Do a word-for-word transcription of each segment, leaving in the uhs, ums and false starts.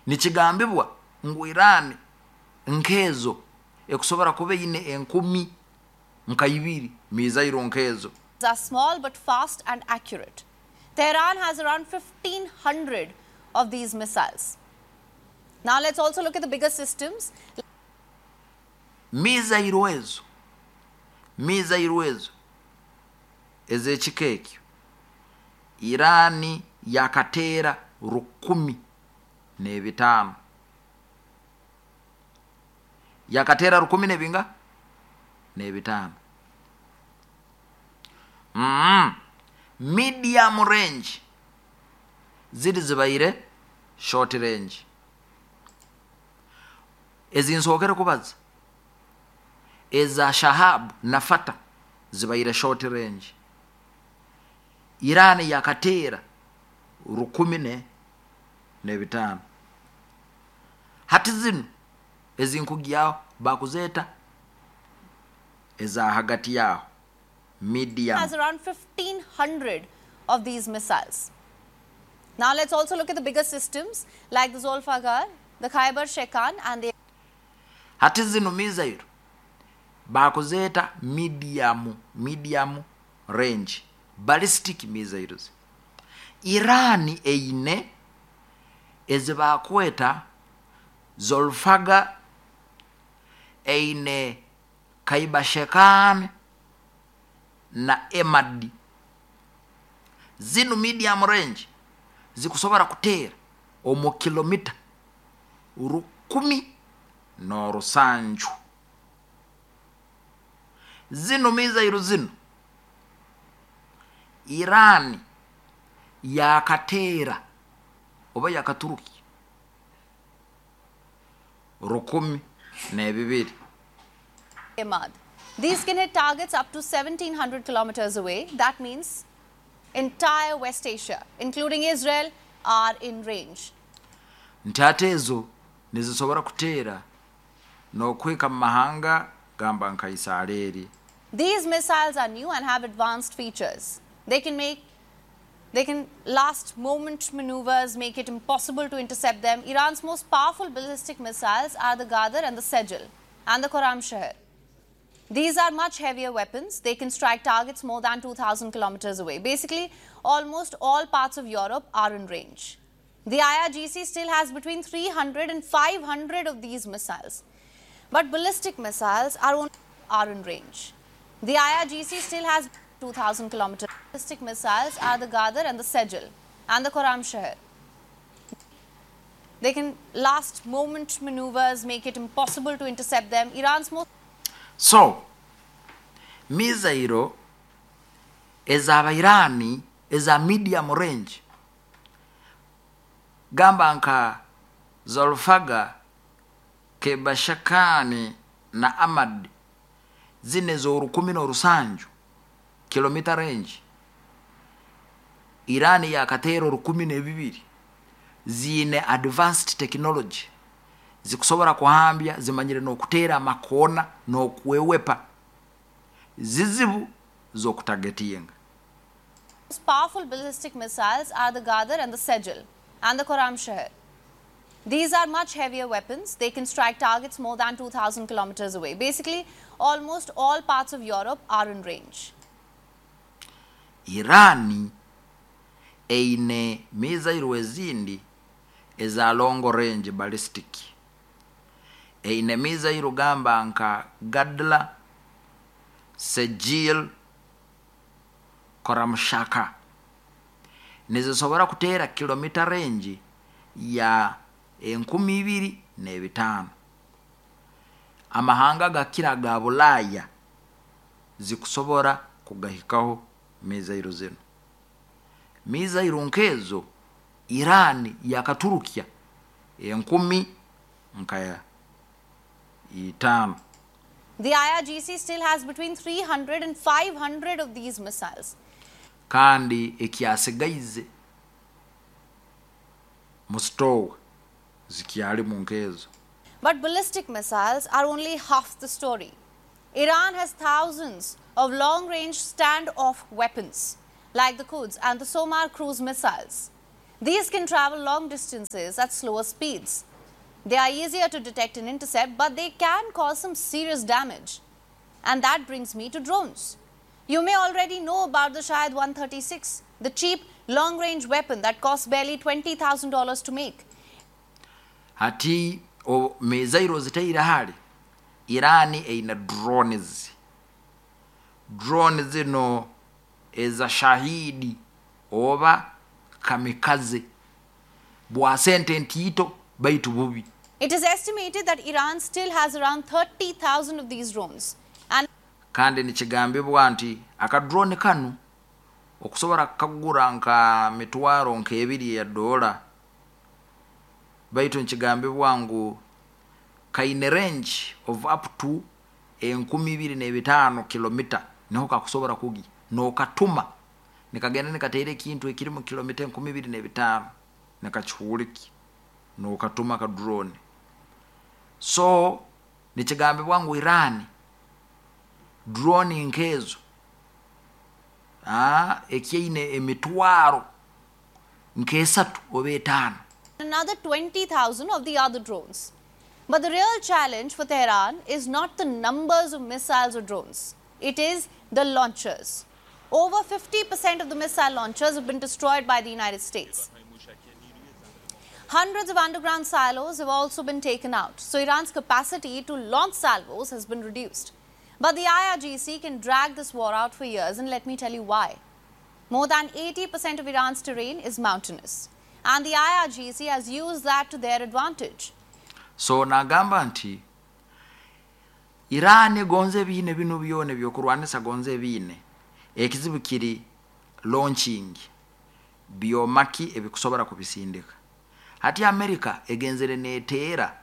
Nikigambibwa ngu Iran nkezo ekusobora kuba eine enkumi nka ibiri missile nkezo. Are small but fast and accurate. Tehran has around fifteen hundred of these missiles. Now let's also look at the bigger systems. Missile ezo missile ezo ez'ekika ekyo Irani yakateera rukumi n'ebitaano, yakateera rukumi n'ebinga n'ebitaano. mm. medium range ziri zibaire short range ezinsookere kubaza eza Shahab na Fata zibaire short range. Irani yakateera rukumi ne n'ebitaano. Hati zino ezinkugyaho bakuzeeta eza hagati yaho, medium. Has around fifteen hundred of these missiles. Now let's also look at the bigger systems like the Zolfaghar, the Khaibar Shekan and the Hati zino missile bakuzeeta medium medium range ballistic missiles. Iran eine ezibakweta Zolfaga, eine Kaibashekan na Emad. Zino medium range zikusobora kuteera omu kilomita rukumi n'orusanju. Zino missile zino Iran yakateera oba yakaturuki rukumi n'ebibiri. Emad. These can hit targets up to seventeen hundred kilometers away. That means entire West Asia, including Israel, are in range. Nti ate ezo nizisobora kuteera n'okwika mu mahanga gamba nka Isiraeri. These missiles are new and have advanced features. They can make they can last moment maneuvers, make it impossible to intercept them. Iran's most powerful ballistic missiles are the Ghadr and the Sejil and the Khorramshahr. These are much heavier weapons. They can strike targets more than two thousand kilometers away. Basically, almost all parts of Europe are in range. The I R G C still has between three hundred and five hundred of these missiles. But ballistic missiles are, only, are in range. The I R G C still has two thousand kilometers. Ballistic missiles are the Ghadr and the Sejil and the Khorramshahr. They can last moment maneuvers, make it impossible to intercept them. Iran's most So missile ez'abairani eza medium range gamba nka Zolfaga, Kebashakani na Amad, zine z'orukumi n'orusanju kilomita range, Irani yakateera orukumi n'ebibiri. Ziine advanced technology, zikusobora kuhambya, zimanyire n'okuteera amakoona n'okwewepa, zizibu z'okutagetinga. Powerful ballistic missiles are the Ghadr and the Sejil and the Khorramshahr. These are much heavier weapons. They can strike targets more than two thousand kilometers away. Basically, almost all parts of Europe are in range. Irani eine missile ezindi eza long range ballistic. Eine missile gamba nka Gadla, Sejil, Koramshaka, nizisobora kuteera kilomita range ya enkumi ibiri n'ebitaano. Amahanga gakira ga Bulaaya zikusobora kugahikaho missile zino. Missile nkezo Irani yakaturukya enkumi nka itaano. The I R G C still has between three hundred and five hundred of these missiles. Kandi ekyasigaize mu store zikyalimu nkezo. But ballistic missiles are only half the story. Iran has thousands of long range standoff weapons, like the Quds and the Somar cruise missiles. These can travel long distances at slower speeds. They are easier to detect and intercept, but they can cause some serious damage. And that brings me to drones. You may already know about the Shahed one thirty-six, the cheap long-range weapon that costs barely twenty thousand dollars to make. Hati o mizairo zitaira hali Irani eina drones. Drone zino eza Shahidi oba kamikaze bwa sente ntito baitu bubi. It is estimated that Iran still has around thirty thousand of these drones. And kandi nikigambibwa nti aka drone kanu okusobola kagura nka mitwaro nka ebiri ya dola, baitu nikigambibwa ngu kaine range of up to enkumi ibiri n'ebitaano kilomita niho kakusobola kugi nokatuma nikagenda nikateera ekintu ekiri mu kilomita enkumi ibiri n'ebitaano nikakihuuliki nokatuma ka drone. So nikigambibwa ngu Iran drone nkezo ah ekyeine emitwaro nkesatu oba etaano, another twenty thousand of the other drones. But the real challenge for Tehran is not the numbers of missiles or drones. It is the launchers. Over fifty percent of the missile launchers have been destroyed by the United States. Hundreds of underground silos have also been taken out. So Iran's capacity to launch salvos has been reduced. But the I R G C can drag this war out for years, and let me tell you why. More than eighty percent of Iran's terrain is mountainous, and the I R G C has used that to their advantage. So nagamba nti Iran gonze biine bino byone byokurwanisa gonze biine ekizibu kiri launching byomaki ebikusobora kubisindika. Hati America egenzere neteera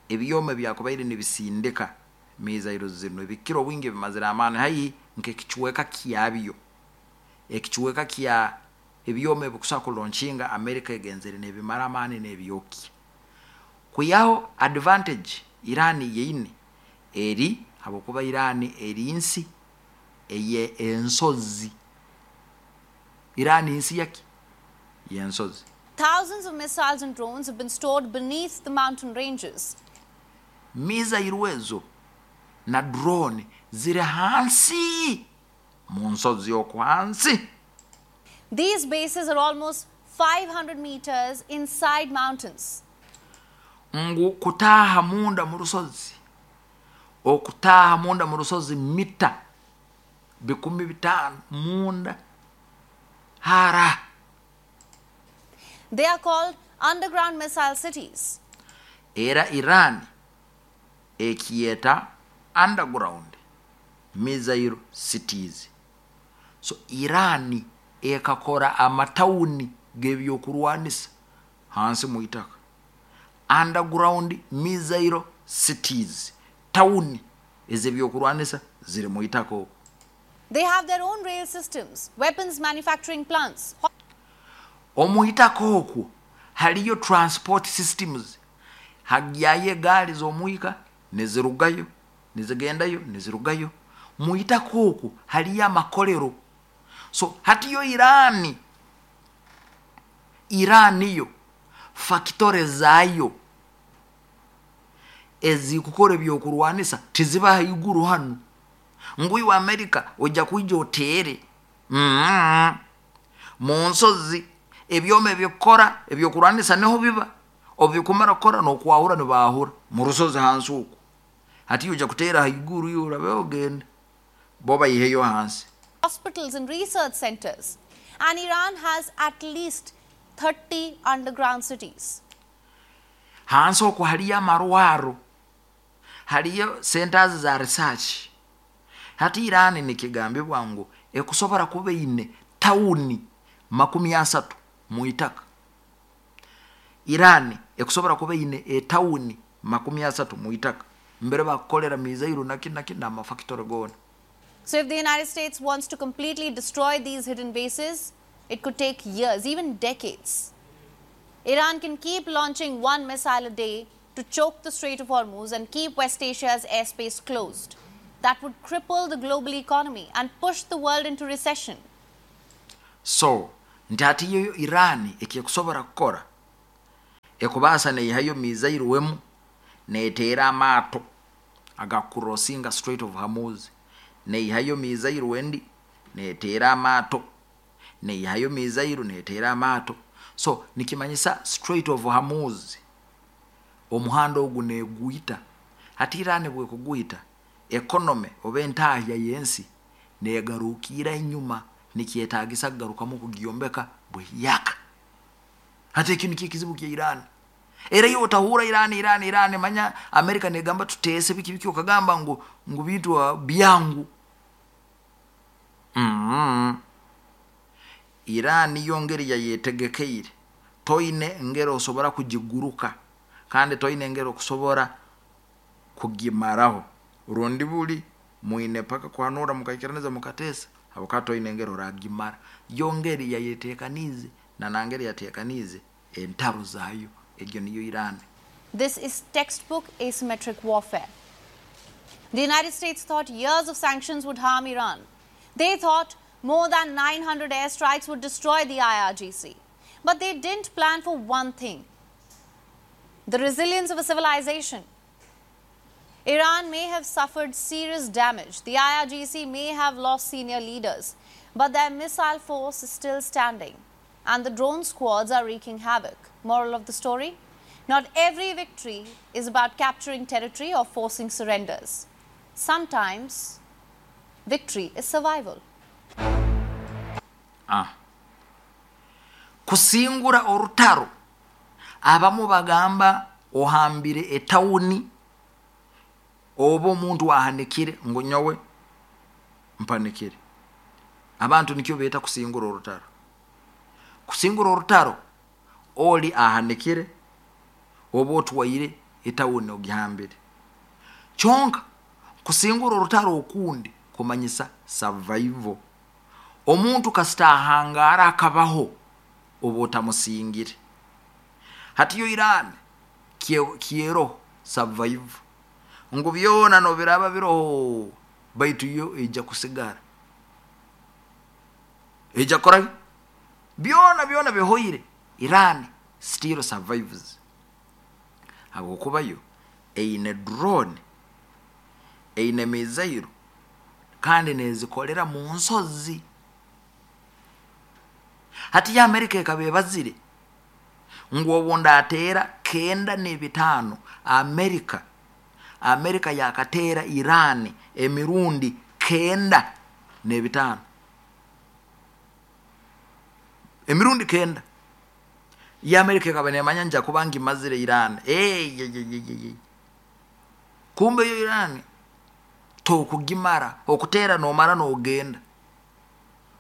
ebyoma byakubaire nibisindika mizairo zino ebikiro wingi bimazira amani hayi nkekichweka kyabyo ekichweka kya ebyoma ebikusa kulaunchinga America egenzere nebimara amani nebyoki kuyaho advantage Iran yeine eri habokuba Iran eri nsi eye ensozi. Iran nsi yaki yensozi. Thousands of missiles and drones have been stored beneath the mountain ranges. Mizairo ezo na drone ziri hansi mu nsozi okwansi. These bases are almost five hundred meters inside mountains. Ngu kutaha munda mu rusozi, okutaha munda mu rusozi mita bikumi bitano munda hara. They are called underground missile cities. Era Iran ekieta underground missile cities. So Iran ekakora amatauni gebyokurwanisa hansi muitaka. Underground missile cities, town ezebyokurwanisa ziri muitaka. They have their own rail systems, weapons manufacturing plants. Omuitaka okwo haliyo transport systems, hagyaye gaali z'omuika nezirugayo nezigendayo nezirugayo. Muitaka okwo haliyo amakolero. So hatiyo Irani, Irani yo fakitore zayo ezikukora ebyokurwanisa tiziba haiguru hano. Ngui wa Amerika ojja kuija otere mm-hmm. mu nsozi ebyoma ebyokora ebyokurwanisa niho biba obikumara kora nokwahura nibahura mu rusozi hansi uko. Hati ojja kutera haiguru yo urabe ogenda bo bayiheyo hansi. Hospitals and research centers, and Iran has at least thirty underground cities. Hansi uko haliyo amarwaro, haliyo centers za research. Hati Iran nikigambibwa ngu ekusobora kuba ine tauni makumi asatu muitaka. Iran ekusobora kuba ine e tauni makumi asatu muitaka mbere bakolera mizairo naki naki na mafactory gona. So if the United States wants to completely destroy these hidden bases, it could take years, even decades. Iran can keep launching one missile a day to choke the Strait of Hormuz and keep West Asia's airspace closed. That would cripple the global economy and push the world into recession. So, Nti hati yo Iran ekikusobora kukora ekubaasa neihayo missile wemu neteera amaato agakurosinga Strait of Hormuz, neihayo missile wendi neteera amaato, neihayo missile neteera amaato. So nikimanyisa Strait of Hormuz omuhanda ogu negwita. Hati Iran bwekugwita, economy oba entahya y'ensi negarukiira enyuma, nikyetagisa kugarukamu kugyombeka bweyaka. Hati eki nikyo ekizibu kya Iran. Era iwe otahura Iran, Iran, Iran, manya Amerika negamba tuteese biki biki, okagamba ngu ngu bintu byangu. Mm. Iran yo ngeri yayetegekeire, toine ngeri osobora kugiguruka kandi toine ngeri okusobora kugimaraho. Rundi buli mwine paka kuhanura mukaikiraniza mukatesa, habwokuba toine ngeri oragimara. Yo ngeri yayetekanize na nangeri yatekanize entaro zayo. Egyo niyo Iran. This is textbook asymmetric warfare. The United States thought years of sanctions would harm Iran. They thought more than nine hundred airstrikes would destroy the I R G C. But they didn't plan for one thing: the resilience of a civilization. Iran may have suffered serious damage. The I R G C may have lost senior leaders, but their missile force is still standing, and the drone squads are wreaking havoc. Moral of the story? Not every victory is about capturing territory or forcing surrenders. Sometimes, victory is survival. Ah. Kusingura orutaro, abamu bagamba ohambire etawuni oba omuntu ahanikire ngu nyowe mpanikire. Abantu nikyo beeta kusingura orutaro. Kusingura orutaro oli ahanikire oba otwaire etawuni ogihambire. Kyonka kusingura orutaro okundi kumanyisa survival. Omuntu kasita ahangara akabaho oba otamusingire. Hati yo Iran kiero survival ngu byona nobiraba biroho, baitu yo ejja kusigara, ejja kora byona byona bihoire. Iran still survives habwokuba yo eine drone, eine missile kandi nezikolera mu nsozi. Hati ya Amerika ekaba ebazire ngu obunda ateera kenda n'ebitaano, Amerika Amerika yakateera Iran emirundi kenda n'ebitaano, emirundi kenda. Ya Amerika ekaba nemanya nja kuba ngimazire Iran. Hey, ye, ye, ye, ye. Kumbe yo Iran tokugimara, okutera nomara nogenda.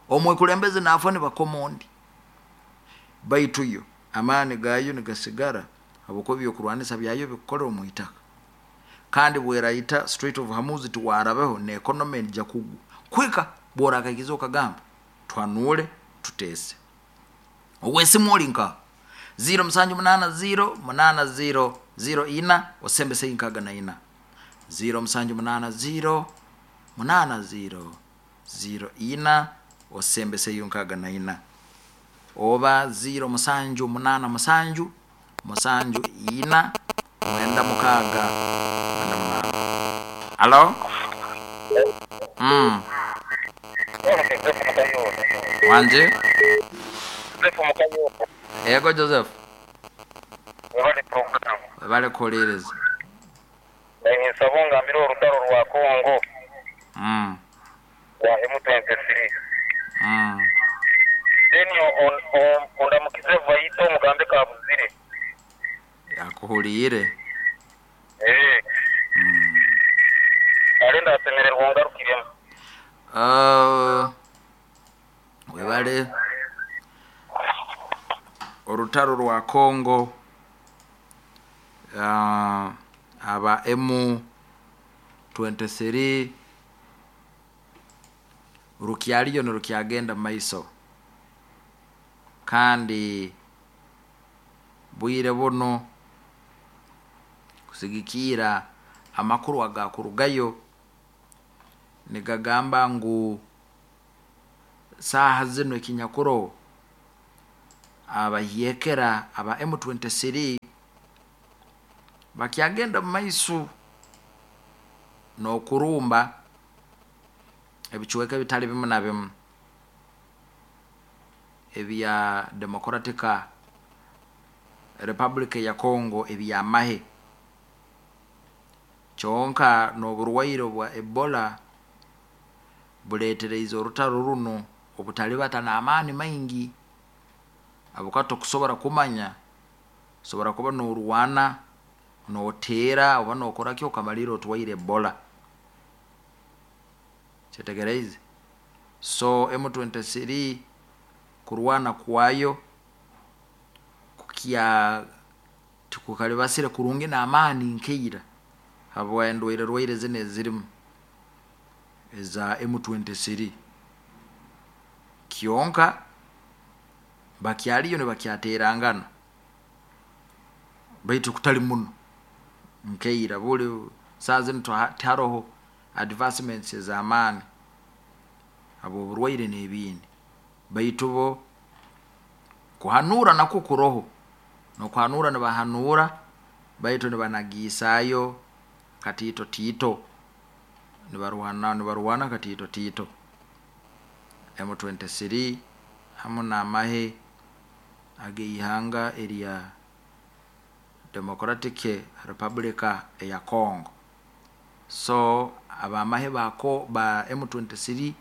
Omwekulembeze nafa ni bakomondi. Baitu yo amani gayo nigasigara habwokuba ebyokurwanisa byayo bikukolera omu itaka. Kandi bweraita Strait of Hormuz tiwarabeho ne economy nja kugwa. Kwika bworakakiza okagamba twanule tutese. Owesimu olinka zero musanju munana zero munana zero zero ina osembe seinkaga na ina zero musanju munana zero munana zero zero ina osembe seyunkaga na ina oba zero musanju munana musanju musanju ina mwenda mukaga mwenda munana. Hello? Mm. Wanje? Ego Joseph. Webale program. Webale kuwuliriza. Nsaba ngambire orutaro rwa Congo. Mm. Wa M twenty-three. Mm. Then on on ondamukize vaito mugambe kabuzire. Yakuhulire. Eh. Mm. Arenda asemererwa ngarukiremu. Uh, webale orutaro rwa Congo uh, aba M twenty-three rukyaliyo nirukyagenda maiso kandi bwire buno kusigikira amakuru agakurugayo nigagamba ngu saha zino ekinyakuro Abahyekera aba M twenty-three bakyagenda mu maiso n'okurumba ebicweka ebitali bimu na bimu ebya Democratic Republic ya Congo ebyamahe. Kyonka n'oburwaire bwa Ebola buleetereize orutaro runo obutalibata n'amaani maingi, abukato kusobora kumanya sobora kuba n'orwana n'oteera oba n'okoraki okamalira otwaire Ebola. Kyetegereize. So M twenty-three kurwana kwayo kukya tukukalibasire kurungi n'amaani nkeira habwa endwaire rwaire zino ezirimu eza M twenty-three. Kyonka bakyaliyo nibakyaterangana baitu kutali muno nkeira buli saa zino tiharoho advancements ez'amaani abo oburwaire n'ebindi, baitu bo kuhanura nakwo kuroho n'okuhanura nibahanura baitu nibanagiisaayo katiito tiito nibarwana nibarwana katiito tiito. M twenty-three hamu n'amahe ag'eihanga erya Democratic Republic eya Congo. So abamahe bako ba M twenty-three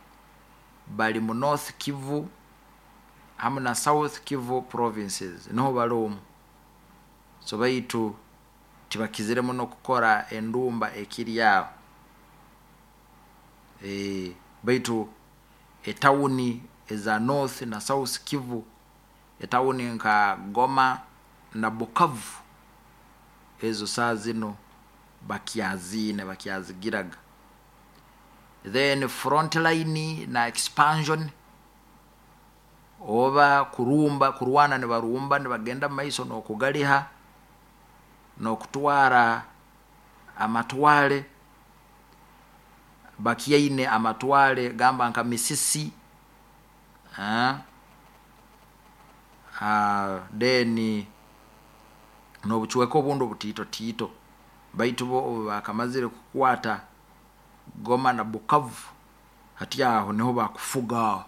bali mu North Kivu hamu na South Kivu provinces niho bali omu. So baitu tibakizire muno kukora endumba ekiri aho. E, baitu etawuni eza North na South Kivu, etawuni nka Goma na Bukavu, ezo saa zino bakyazine bakyazigiraga. Then front line na expansion oba kurumba kurwana nibarumba nibagenda maiso n'okugaliha n'okutwara amatwale, bakyaine amatwale gamba nka Misisi, ah, ah, then n'obucweka obundi obutiito tiito, baitu bo obu bakamazire kukwata Goma na Bukavu hati aho niho bakufuga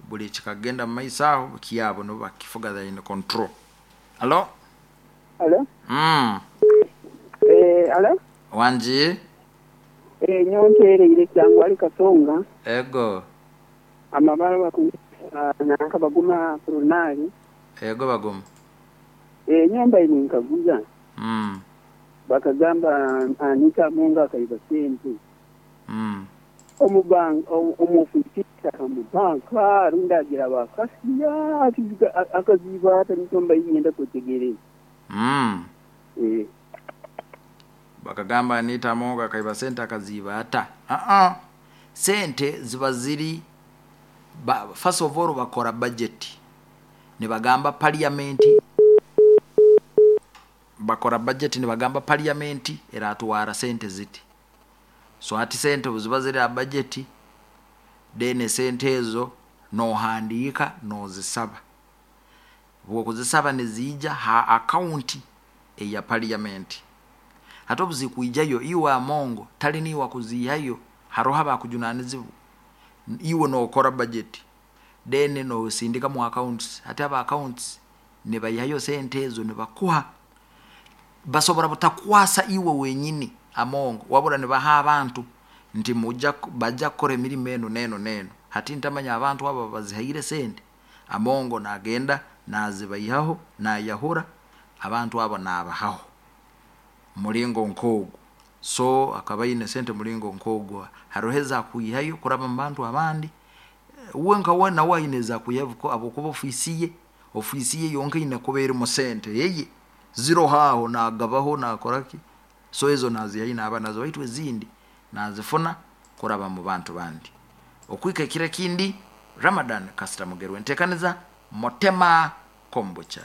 buli kikagenda mu maiso aho kyabo nibo bakifuga, they in control. Alo? Alo? Mm. Eh, alo? Wanji? Eh, nyontereire cyangwa ari Kasonga. Ego. Amabara baku nanka baguma prunali. Ego baguma. Eh, nyomba ini nkaguza. Mm. Bakagamba Anita Munga akaiba sente. Mm. Omubang omufisita omubanka rundagira bakasiya akaziba atanitomba yenda kutegereza. Mm. Eh. Bakagamba Anita Munga akaiba sente akaziba ata. Ah ah. Sente ziba ziri ba, first of all bakora budget. Nibagamba parliament bakora budget nibagamba parliament eratwara sente ziti. So ati sente buziba ziri a budget then sente ezo nohandiika nozisaba. Bwo kuzisaba nezija ha account eya parliament. Hata obuzikuijayo iwe amongo tali niwa kuzihayo haroha bakujunanizibu iwe nokora budget then no sindika mu accounts. Hata aba accounts nebayihayo sente ezo nebakuha basobora butakwasa iwe wenyini amongo wabura nebaha abantu nti muja baja kukora emirimo eno neno neno. Hati ntamanya abantu abo bazihaire sente amongo nagenda nazibayihaho nayahura abantu abo nabahaho mulingo nkogo. So akabaine sente mulingo nkogo haroheza kuyihayo kuraba mu bantu abandi uwe nka we nawe ayineza kuyavuko abo kuba ofisiye ofisiye yonke ine kubera mu sente yeye zero haho nagabaho nakoraki. So ezo nazihayi naba nazo baitu ezindi nazifuna kuraba mu bantu bandi. Okwika kire kindi Ramadan Kasita Mugerwe ntekaniza Motema Kombocha.